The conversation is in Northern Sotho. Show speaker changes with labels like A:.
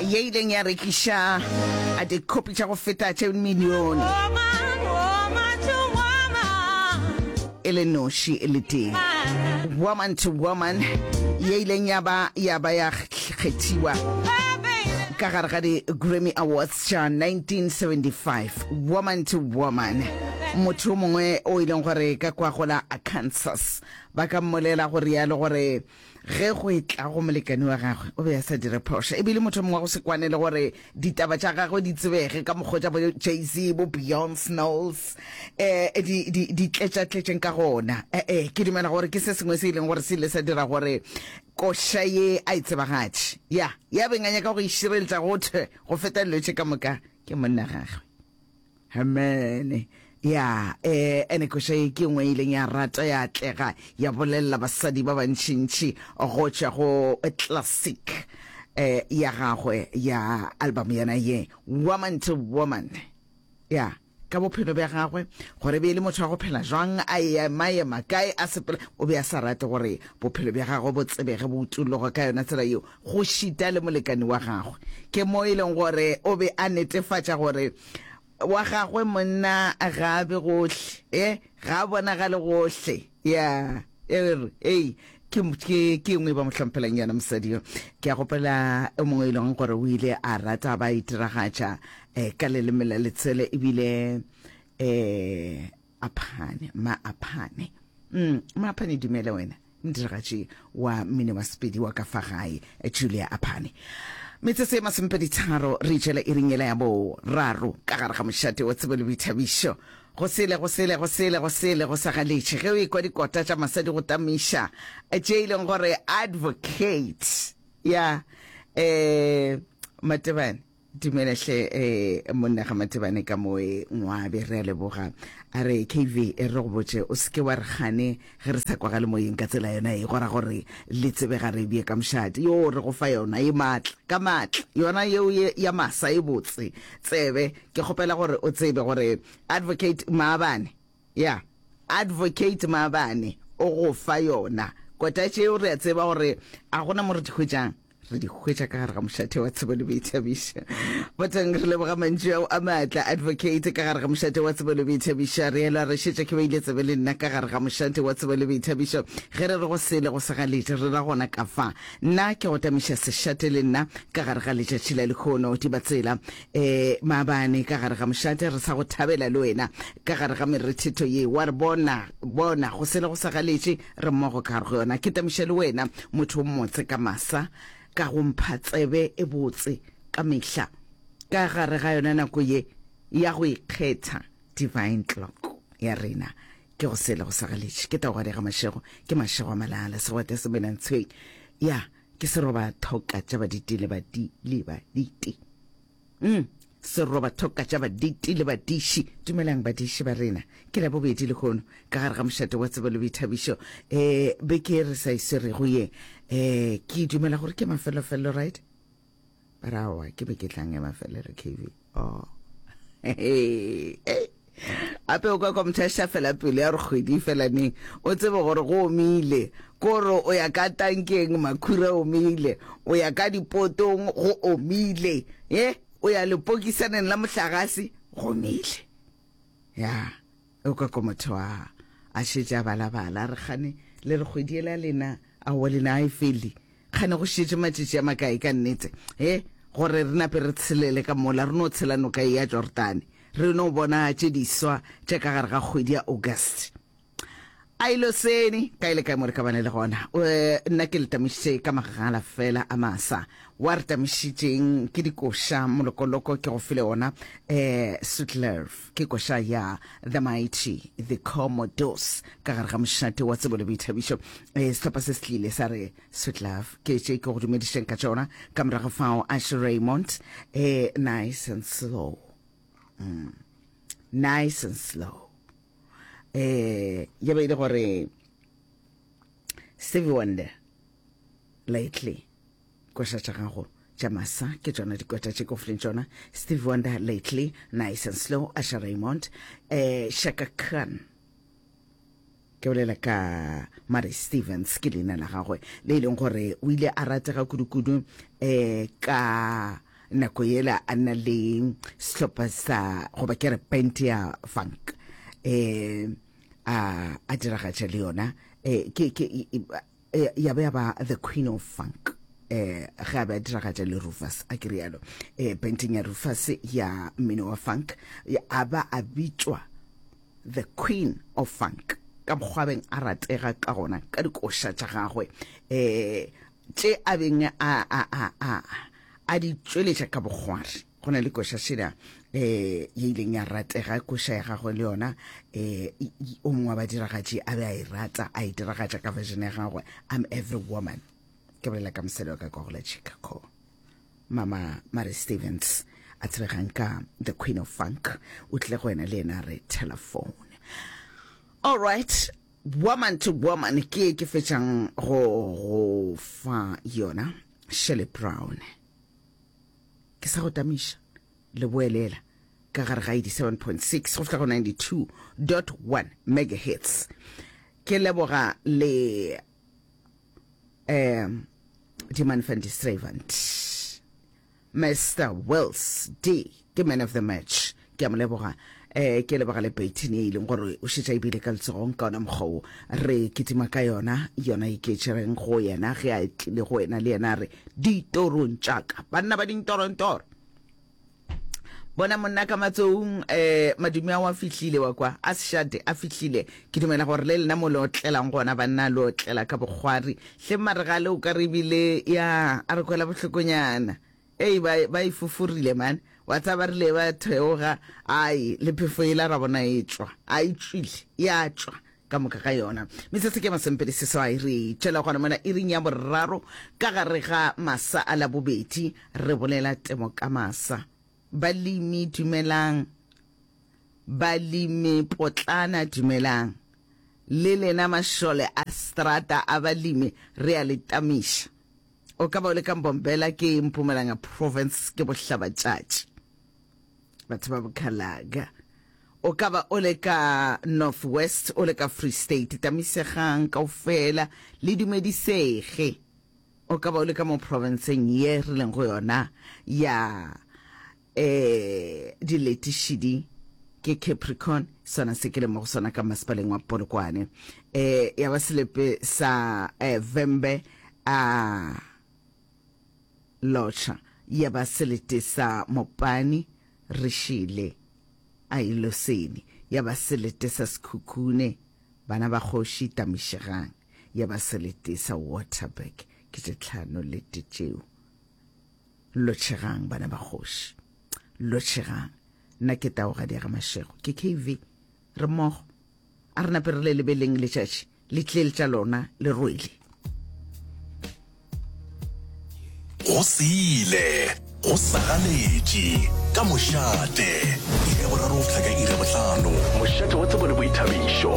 A: Ye ileng ya rekiša dikhopi tša go feta tše milione e le noši e le tee. Woman to Woman ye ileng ya ba ya ba ya kgethiwa ka gare ga di-Grammy Awards tša 1975. Woman to Woman, motho o mongwe o e leng gore ka kwa go la Arkansas ba ka mmolela go rialo gore Ge go etla go molekane wa gagwe, o be a sa dire phošo. E bile motho mongwe wa go se kwane le gore ditaba tša gagwe di tsebege ka mokgwa tša bo Jay-Z, bo Beyonce Knowles eh, di, di, di tletšatletšeng ka gona. Eh, eh, ke dumela gore ke se sengwe se e leng gore se ile sa dira gore koša ye a e tsebagatše. Ya, ya beng a nyaka go e šireletša go thwe go feta dilo tše ka moka ke monna gagwe. Amen. Ya, eh, ene koša ye ke nngwe e ileng ya rata ya atlega, ya bolelela basadi ba bantšintši go tšwa go classic eh, ya gagwe ya album yena ye, Woman to Woman. Ya, ka bophelo bja gagwe, gore be e le motho wa go phela jwang, a ema-ema kae, a sepela, o be a sa rate gore bophelo bja gagwe bo tsebege, bo utologe ka yona tsela yeo, go šita le molekani wa gagwe. Ke mo e leng gore o be a netefatša gore wa gagwe monna ga a be gohle, e, ga a bonagale gohle. Ya, e re, ei, ke, ke, ke engwe ba mo hlomphelang yona mosadi yo. Ke a gopola o mongwe e leng gore o ile a rata ba itiragatša eh, ka leleme la letswele ebile eh, Aphane, ma Aphane. Mm, ma Aphane dumele wena. Modiragatši wa mmino wa Sepedi wa ka fa gae, Julia Aphane. Metsotso e masomepeditharo re itšwela iring yela ya boraro ka gare ga mošate wa tsebo le boithabišo. Go sele, go sele, go sele, go sele, go sa galetše ge o ekwa dikota tša masadi go tamiša tše e leng gore advocate ya eh Matebane. Dumela hle eh, monna ga Matebane ka moe Ngwabe, re a leboga. A re KV e re go botše o seke wa re gane ge re sa kwagale moyeng ka tsela yona e gora gore le tsebe ga re bie ka mošate. Yo re go fa yona e maatla ka maatla yona yeo ye ya masa e botse tsebe. Ke kgopela gore o tsebe gore Advocate Maabane ya Advocate Maabane o go fa yona kota tšeo re a tseba gore a gona mo re di hwetšang. Re di hwetša ka gare ga mošate wa tsebo le boithabišo. Boteng re leboga mantšu ao a maatla, Advocate, ka gare ga mošate wa tsebo le boithabišo. Re elwa re šetše ke beile tsebe le nna ka gare ga mošate wa tsebo le boithabišo. Ge re re go sele go se galetše, re ra gona ka fa. Nna ke go tamiša sešate le nna ka gare ga letšatši la lehono. Dibatsela, e, maabane ka gare ga mošate re sa go thabela le wena ka gare ga merethetho ye. Wa re bona, bona, go sele go sa galetše, Re mmogo ka gare go yona. Ke tamiša le wena, motho o mmotse ka masa, ka go mpha tsebe e botse ka mehla. Ka gare ga yona nako ye ya go ikgetha, divine clock ya rena, ke go sele go sa galetše. Ke taogadi ga mašego, ke mašego a malala, segwete se mena ntshweng. Ya, ke seroba thoka tša baditi le badi le baditi. Mm, seroba thoka tša baditi le badiši. Dumelang badiši ba rena. Ke la bobedi lehono ka gare ga mošate wa tsebo le boithabišo. Eh, beke e re sa e swerego ye. Eh, ke dumela gore ke mafelofelelo, right? Ba re aowa, ke beke e tlang ya mafelelo, KV. Oh. Hey, hey. Gape o ka kwa motho a šafela pelo ya gore kgwedi e fela neng, o tsebe gore go omile. Kore o ya ka tankeng makhura omile, o ya ka dipotong go omile, ye o ya lepokisaneng la mohlagase go omile. Ya, o ka kwa motho a a šetše a balabala a re kgane le re kgwedi yela lena aowa lena a e fele. Kgane go šetše matšatši a makae ka nnete, he, gore re nape re tshelele ka mola, re no tshela noka ye ya Jordane, re no bona tše diswa tša ka gare ga kgwedi ya August. A ilo sene, kae le kae mo re ka bane le gona. Nna ke le tamišitše ka magala fela a masa. Wa re tamišitšeng ke dikoša, molokoloko ke go file ona, eh, Sweet Love, ke koša ya The Mighty, The Commodores, ka gare ga mošate wa tsebo le boithabišo. Eh, sehlopha se se tlile sa re Sweet Love, ke tše ke go dumedišeng ka tšona. Ka morago fao, Asher Raymond, eh, Nice and Slow. Mm. Nice and Slow. Eh, ya be e le gore Stevie Wonder, Lately, koša tša gago tša masa ke tšona dikota tše ke go fileng tšona. Stevie Wonder, Lately, Nice and Slow, Asher Raymond, eh, Chaka Khan. Ke bolela ka Murray Stevens, ke leina la gagwe le e leng gore o ile a ratega kudu-kudu um ka nako yela a na le sehlopha sa goba ke re band ya funk eh a a diragatša le yona eh ke ke ya ba ya ba the queen of funk eh ge a be a diragatša le Rufus a ke rialo eh banding ya Rufus ya mmino wa funk a ba a bitšwa the queen of funk ka mokgwa beng a ratega ka gona ka dikoša tša gagwe eh tše a beng a a a a a di tšweletša ka bokgwari. Go na le koša šela um ye ileng ya ratega, koša ya gagwe le yona um o mongwe wa badiragatši a be a e rata, a e diragatša ka version ya gagwe, I'm Every Woman. Ke bolela ka mosadi wa ka kwa go la Chicago, Mama Mary Stevens, a tsebegang ka The Queen of Funk, o tlile go wena le yena re telephone. All right, woman to woman ke ke fetšang go go fa yona Shirley Brown. Ke sa go tamiša leboelela ka gare ga 87.6 go fihla go 92.1 megahertz. Ke leboga le um Diman van die Strevant. Mister Wills D ke man of the match. Ke a mo leboga. Eh, ke leboga le Peyton ye e leng gore o šetša e bile ka letsogong ka ona mokgwa wo re kitima ka yona, yona e ke tšereng go yena ge a tlile go wena le yena a re, Ditorong tša ka, banna ba dintorontoro. Bona monna ka matsoung, eh, madume ao a fihlile wa kwa, a sešate a fihlile. Ke dumela gore le lena mo le otlelang gona banna le otlela ka bokgwari. Hle marega le o ka re ebile ya a re kwela bohlokonyana. Ei ba ba e foforile man. Wa tseba ba rile ba theoga ai le phefo yela ra bona e tšwa. A e tšwile ya tšwa ka moka ga yona. Metsotso ke masomepedi seswai re tšwela gona mona iring ya boraro ka gare ga masa a Labobedi re bolela temo ka masa. Balemi dumelang. Balemi potlana dumelang. Le lena mašole a strata a balemi re a le tamiša. O ka ba o le ka Mbombela ke Mpumalanga province ke bohlabatšatši. Batho ba Bokhalaga. O ka ba o le ka North West o le ka Free State tamisegang kaofela le dumedisege. O ka ba o le ka mo provinceng ye re leng go yona ya eh diletišidi ke Capricorn sona se ke le mo go sona ka masepaleng wa Polokwane eh ya ba selepe sa eh, Vhembe a lotšha ya ba selete sa Mopani re šele a iloseni ya ba selete sa Sekhukhune bana ba kgoši tamišegang ya ba selete sa Waterberg ke tše tlhano lete tšeo Lotšhegang bana ba kgoši. Lotšhegang. Nna ke Taogadi ya ga Mashego. Ke KV. Re mmogo. A re nape re le lebeleng letšatši le tlile tša lona le rwele.
B: Go sile, go sagaletše, ka mošate, iri ya boraro go fihla ka iri ya bohlano. Mošate wa tsebo le boithabišo.